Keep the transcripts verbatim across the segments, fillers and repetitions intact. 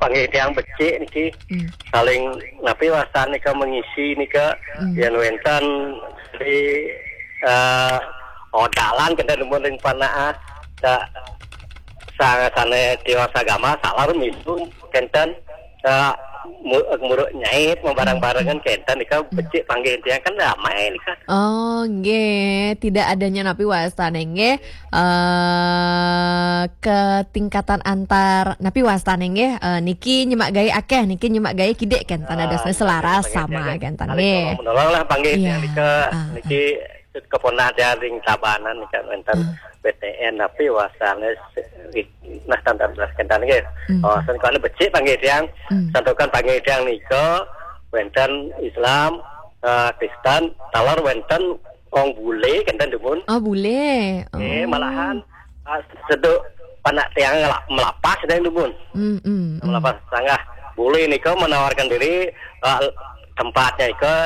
Nggih, tiang becik niki. Hmm. Saling napi wastan nika mengisi nika. Hmm. Yen wenten di, eh, odalan kenten dumun ring panah. Sa-, sa-, sane tiwas agama, salah minum kenten. Sa-, mu-, muruk nyait, membareng-barengan kenten nika becik panggih tiang kan damai nika. Oh, nggih, tidak adanya napi wastane nggih, eh, ketingkatan antar napi wastane nggih, eh, niki nyemak gae akeh, niki nyemak gae kidik kenten. Ah, dadosne selaras nggih, sama nggih. Kenten nggih. Menolong lah panggih. Iya. Nika, ah, niki keponah dia ring Tabanan nika wenten B T N napi wastane se-, nah, tanda belas kenten nggih. Hmm. Oh, sen kone becik panggih tiang, hmm, santukan panggih tiang nika wenten Islam, eh, Kristen, taler wenten wong bule kenten dumun. Oh, bule. Eh, oh, malahan, eh, seduk panak tiang ngela-, melapas kenten dumun. Hmm, hmm, hmm. Melapas sanggah bule nika menawarkan diri, eh, tempatnya nika,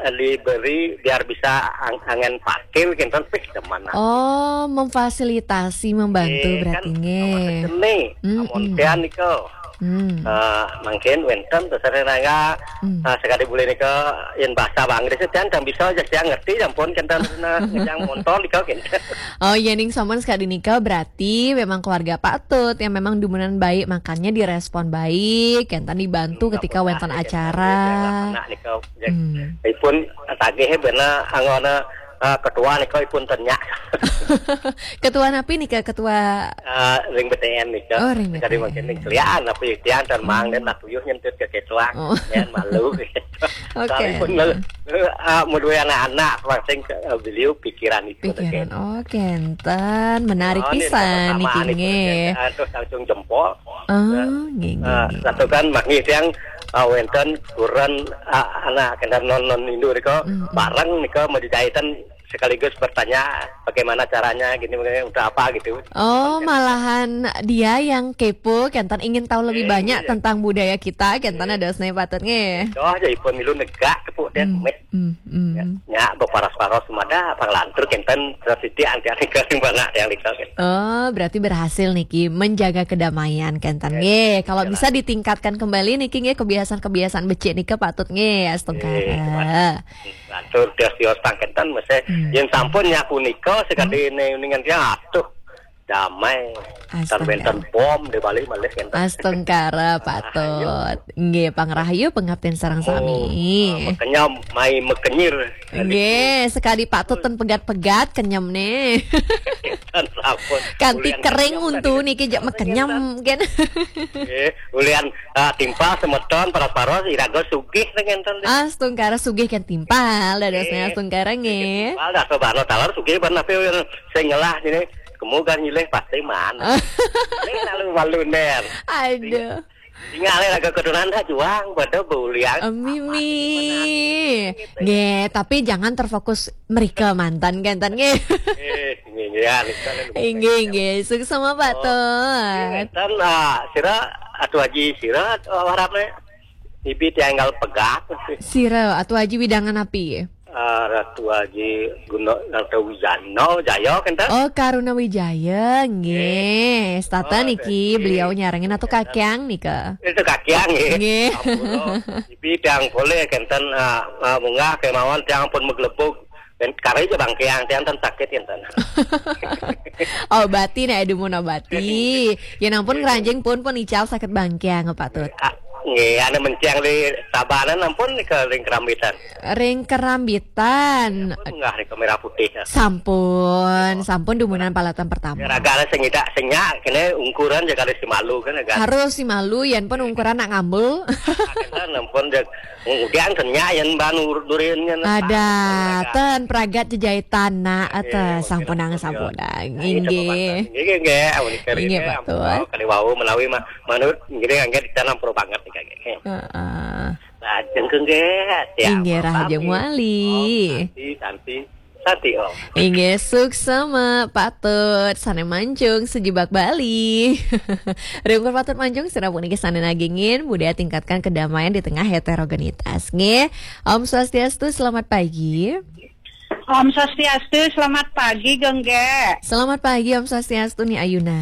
eh, diberi biar bisa ang-, angen parkir kenten pih demen. Oh, memfasilitasi, membantu. Eh, berarti kan, nggih. Amun seni, hmm, amun hmm, tiang nika. Hmm. Eh, mungkin wenten terserah nangga, hmm, eh, sekali bule nika yen bahasa Inggris tiang, tiang bisa aja tiang ngerti, ampun kenten ngejang motor nika kenten. Oh, yening sampun sekali nika berarti memang keluarga Pak Tut yang memang dumunan baik, makanya direspon baik, kenten dibantu ketika wenten acara. Anak nika, hmm, ipun tagih bena anggona, eh, ketua nika ipun tenyak. Ketua napi nika, ketua? Eh, ring B T N nika. Oh, ring B T N. Jadi mungkin ning kelian napi tiang dan mang, hmm, den nak tuyuh nyentut ke ketua. Oh. Yen malu. Oke. Tapi pun, eh, ah, mudui anak-anak, masing ke, eh, beliau pikiran itu. Pikiran. Oke, enten. Menarik pisan niki nggih. Terus langsung jempol. Oh, nggih, nggih, ah, nggih. Satu kan manggih tiang, ah, wenten kuren, ah, anak kenten non, non Hindu nika, mm, mm, bareng nika mau dijaitan sekaligus bertanya bagaimana caranya gini, begini, untuk apa gitu. Oh, malahan dia yang kepo, kenten ingin tahu lebih banyak tentang budaya kita, kenten. Iya. Dadosne Pak Tut nggih. Doh aja ipun milu negak tepuk dia, hmm, meh. Hmm, hmm. Ya, nya beparas-paros mada panglantur kenten setitik anti-anti kering banget yang nika kenten. Oh, berarti berhasil niki menjaga kedamaian kenten. Iya, nggih. Kalau bisa ditingkatkan kembali niki nggih kebiasaan-kebiasaan becik nika Pak Tut nggih, astungkara. Iya, lantur tios-tios tangketan mesti. Hmm. Yen sampun nyapu nika sekali, hmm, ne-, ningan dia, aduh, damai. Astaga. Tan wenten bom di Bali malih kenten. Astungkara Pak Tut. Nggih, pang rahayu pangaptin sareng sami. Oh, ah, mekenyam, mai mekenyir. Nggih, sekali Pak Tut ten pegat-pegat kenyem ne. Tan sampun. Kanti ulian kering kenyem untu tadi. Niki jak mekenyem kan. Nggih, ulian, ah, timpal semeton paras-paros iraga sugih ngenten. Astungkara sugih kan timpal, dadosnya astungkara nggih. Timpal dah, coba lo talar sugih ban napi sing ngelah sini. Kemu kan nyilih pasti man. Ini lalu malu ner. Aduh. Tinggal lagi keturunan dah juang pada beuliang. Mimi. Nggih, tapi jangan terfokus mereka mantan kenten nggih. Eh, nggih, nggih, ya, nggih, nggih. Suksma Pak Tut. Nggih, ngenten, ah, sira Atu Haji sira, ah, harapnya. Ibi tiang pegat. Sira Atu Haji widangan api? Ah, Ratu Haji Guna, Ratu Wijana, Jaya kenten. Oh, Karuna Wijaya, nggih. Nggih. Setata niki beliau nyarengin Atu Kakiang nika. Itu Kakiang nggih. Nggih. Ampura. Ibi tiang boleh kenten, ah, ah, munggah kemawon tiang pun meglebug. Dan kare aja bangkiang tiang ten sakit kenten. Obati nek dumun obati. Ya ampun, nggih, ngranjing pun pun ical sakit bangkiang Pak Tut. Ah, nggih, ane mencang di Tabanan ampun ke ring Kerambitan. Ring Kerambitan. Ampun, nggak ring Merah Putih. Sampun, sampun dumunan palatan pertama. Ragane sing idak senyak kene ungkuran ya kali si malu kan, kan. Harus si malu yen pun ungkuran nak ngambul. Kan ampun, dia kemudian senyak yen ban urut durin kan. Ada, ten pragat jejai tanah, ata sampunang, sampunang. Inggih. Inggih, inggih, amun kali inggih, Pak Tut. Kali wau menawi ma-, manut, inggih, inggih, ditanam pro banget nih, inggih. Heeh. Lajeng ke nggih, ya, inggih, rahajeng wali. Om Santi, Santi, Santi, Om. Inggih, suksma, Pak Tut, sane mancung, sejebak Bali. Ringkur Pak Tut mancung, sira puniki sane nagingin, budaya tingkatkan kedamaian di tengah heterogenitas. Nggih, Om Swastiastu, selamat pagi. Om Swastiastu, selamat pagi, Gengge. Selamat pagi, Om Swastiastu, Ni Ayuna.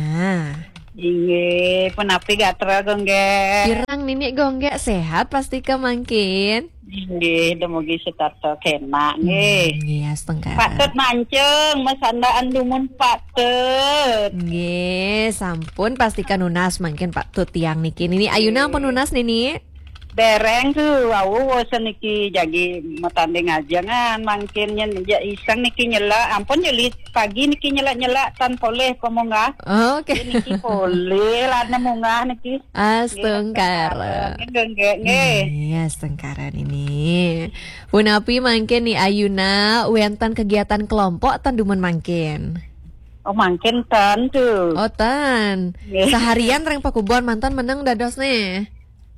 Inggih, punapi gatra Gung Gek? Pirang nini Gung Gek, sehat pastika mangkin? Inggih, dumugi setata kenak nggih. Hmm, nggih, astungkara. Patut mancung, masandaan dumun patut. Nggih, sampun pastika nunas mangkin patut tiang niki. Nini Ayuna ampun nunas nini? Dereng tu, wau wasa niki jagi matanding ajengan mangkin nyen ja iseng niki nyela, ampun jeli pagi niki nyela-nyela tan polih pamunggah. Oke. Jadi niki polih lah ne munggah niki. Astungkara. Nggih, nggih, nggih. Iya, astungkara nini. Punapi mangkin ni Ayuna wenten kegiatan kelompok tan dumun mangkin? Oh, mangkin tan tu. Oh, tan. Nggih. Seharian ring pakubon mantan meneng dados ne.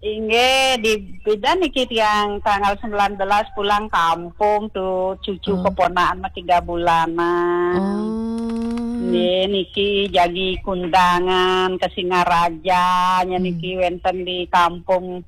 Inggih, di bidan niki tiang tanggal sembilan belas pulang kampung tu, cucu keponakan mah tiga bulanan. Oh. Nggih, niki jagi kundangan ke Singaraja, nya niki wenten di kampung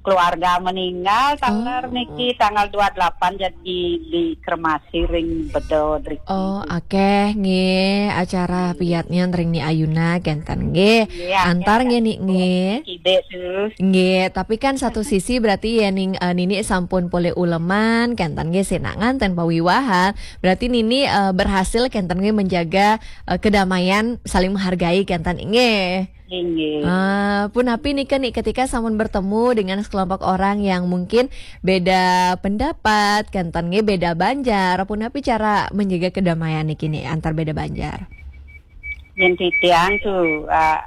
keluarga meninggal, taler niki tanggal dua delapan jadi dikremasi ring Bedod riki. Oh, akeh nggih acara piatnya ring ni Ayuna kenten nggih. Nggih, akeh. Antar nggih ni nggih. Kidek tu. Nggih, tapi kan satu sisi berarti ya ning, eh, nini sampun polih uleman kenten nggih, sing nganten pawiwahan. Berarti nini, eh, berhasil kenten nggih menjaga, eh, kedamaian, saling menghargai kenten nggih. Inggih. Ah, punapi nika ni ketika sampun bertemu dengan sekelompok orang yang mungkin beda pendapat, kenten nggih beda banjar, punapi cara menjaga kedamaian niki ni antar beda banjar? Yen titiang tu, ah,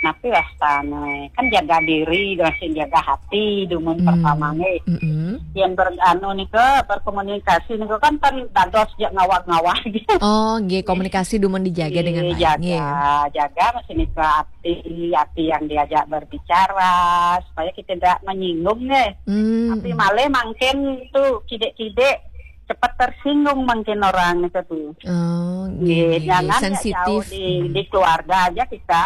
napi wastane? Kan jaga diri, masih jaga hati, dumun pertama nggih. Mm-mm. Yen ber-, anu nika, berkomunikasi nika kan, kan dados ja ngawag-ngawag gitu. Oh, nggih, komunikasi dumun dijaga dengan baik, jaga, nggih. Jaga masih nika ati, ati yang diajak berbicara, supaya kita tidak menyinggung nggih. Hmm. Tapi malah mangkin tu kidek-kidek cepat tersinggung mangkin orang itu tu. Oh, nggih, nggih, nggih, jangan ya sensitif. Jauh di, di keluarga aja kita,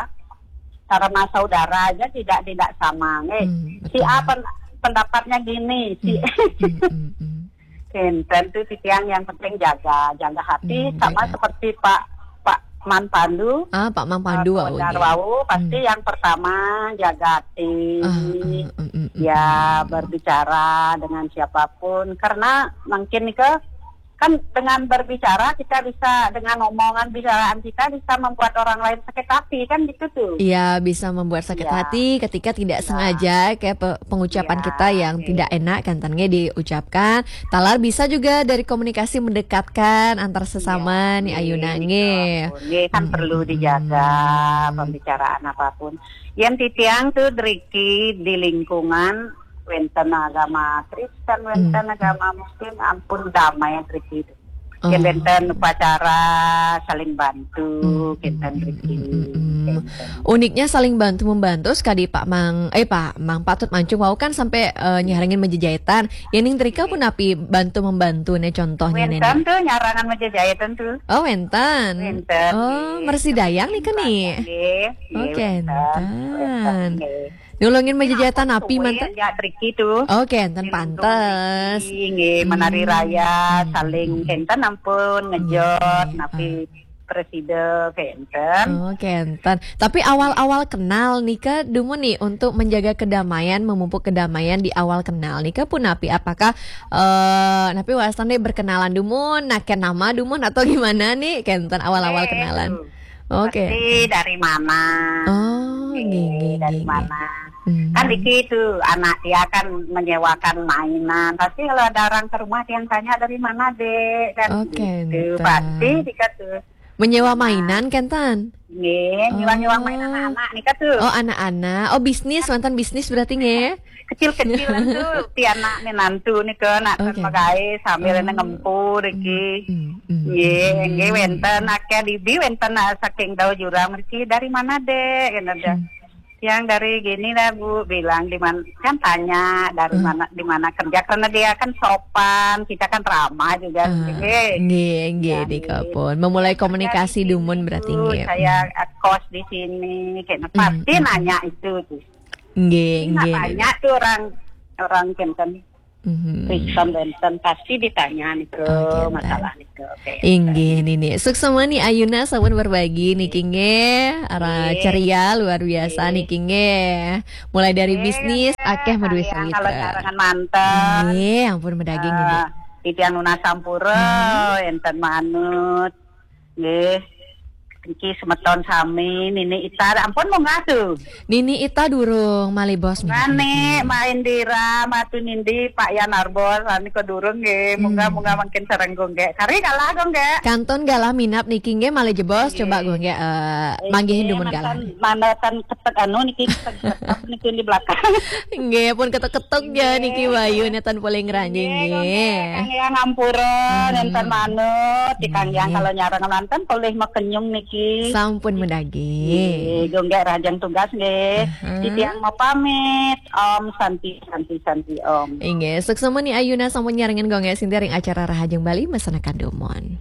karena saudara aja tidak, tidak sama nggih. Hmm, betul. Si A pen-, pendapatnya gini, si hmm, hmm, hmm, hmm. Kenten tu titiang yang penting jaga, jaga hati. Hmm, sama jaga. Seperti Pak, Pak Man Pandu. Ah, Pak Man Pandu, eh, wau, Kodar nggih. Wau, pasti hmm. Yang pertama jaga hati. Ah, ah, mm, mm, mm, ya, mm. Berbicara dengan siapapun. Karena mungkin nika kan dengan berbicara kita bisa, dengan omongan bicaraan kita bisa membuat orang lain sakit hati, kan gitu tuh. Iya, bisa membuat sakit ya. Hati ketika tidak ya. Sengaja kayak pe-, pengucapan ya, kita yang oke. Tidak enak kan, tan, nggih, diucapkan. Talar bisa juga dari komunikasi mendekatkan antar sesama ya, nih, Ayuna, nggih, nggih. Nggih, kan hmm, perlu hmm, dijaga hmm. Pembicaraan apapun. Yang titiang tuh, Driki, di lingkungan wenten agama Kristen, wenten hmm. Agama Muslim, ampun damai yang terjadi. Oh. Yang wenten upacara saling bantu, hmm, kenten hmm, rezeki, hmm, hmm, hmm. Kenten. Uniknya saling bantu membantu, sekali Pak Mang, eh, Pak Mang Patut Mancung wau kan sampai, eh, nyarengin majejahitan. Yang ning Drika punapi bantu membantu nih contohnya nih. Wenten tuh nyarangan majejahitan tuh. Oh, wenten. Wenten. Oh, nggih. Mersi dayang nih kan nih. Nggih, nggih, oh, wenten. Kenten. Wenten, nggih. Nulungin majejahitan napi manten? Ya, Driki tuh. Oh, kenten pantes. Nggih, menari raya, hmm, saling kenten ampun, ngejot, hmm, napi ah. Presida, kenten. Oh, kenten. Tapi awal-awal kenal nika, dumun nih untuk menjaga kedamaian, memupuk kedamaian di awal kenal nika punapi? Apakah, eh, napi wastan nih berkenalan dumun, naken nama dumun atau gimana nih, kenten awal-awal eh, kenalan? Tuh. Oke. Pasti dari mana? Oh, nggih, nggih, dari nggih, mana? Hmm. Kan Diki itu anak dia kan menyewakan mainan. Pasti kalau ada orang ke rumah dia yang tanya, "Dari mana, Dek?" Kan oke, gitu. Pasti Dika tuh. Menyewa mainan, kenten? Nggih, nyewa-nyewa mainan anak-anak nih kan tuh. Oh, anak-anak. Oh, bisnis, mantan bisnis berarti nggih? Kecil-kecilan tuh, pianak minantu nika, nak oke. Magaé sambil oh. Ngempu riki. Hmm, hmm, nggih, hmm. Nggih, wénten akéh dibi, wénten, ah, saking Dauh Jurang riki, "Dari mana, Dek?" Gitu dah. Hmm. "Yang dari gini lah, Bu," bilang, "di mana?" Kan tanya, "Dari hmm. Mana, di mana kerja?" Karena dia kan sopan, kita kan ramah juga, ah, nggih. Nggih, nggih, ya, dikapun. Memulai komunikasi dumun berarti, nggih. Saya, hmm. Ah, kos di sini, kayak, hmm. Pasti hmm. Nanya itu tuh. Nggih, nggih. Banyak tuh orang, orang kenten. Mhm. Rikson benten pasti ditanya niku Oke, masalah niku. Oke. Inggih Nini. Suksma Ni Ayuna sampun berbagi niki nggih. Ara Nggih. Ceria luar biasa Nggih. niki nggih. Mulai dari Nggih, bisnis nggih. akeh meduwe Sayang sawitra. Kalau jarangan manten. Nggih, ampun medaging nggih. Ah, titiang nunas sampura, enten manut. Nggih. Niki semeton sami, Nini Ita, ampun munggah tuh. Nini Ita durung malih bos minat Ngane, niki. main dira, matu nindi, Pak Yan Arbor, sami kok durung nggih. Munggah Hmm. munggah mangkin sareng Gung Gek. Kari kalah Gung Gek. Kantun galah minap niki nggih malih jebos Nggih. coba Gung Gek eh, manggihin dumun galah. Manatan ketek anu niki ketek ketek niki di belakang. Nggih pun ketuk-ketuk ya Nggih. Niki Wayu neten polih ngranjing Nggih, Gung Gek. nggih. Kang Yang ngampura, Hmm. nenten manut, di Kang Yang Nggih. Kalau nyarang manten polih makenyung niki. Sampun medaging. Nggih, Gung Gek rajang tugas nggih. Aha. Titiang mau pamit. Om Santi Santi Santi Om. Inggih, suksma Ni Ayuna sampun nyarengin Gung Gek Sinti ring acara Rahajeng Bali mesanakan dumun.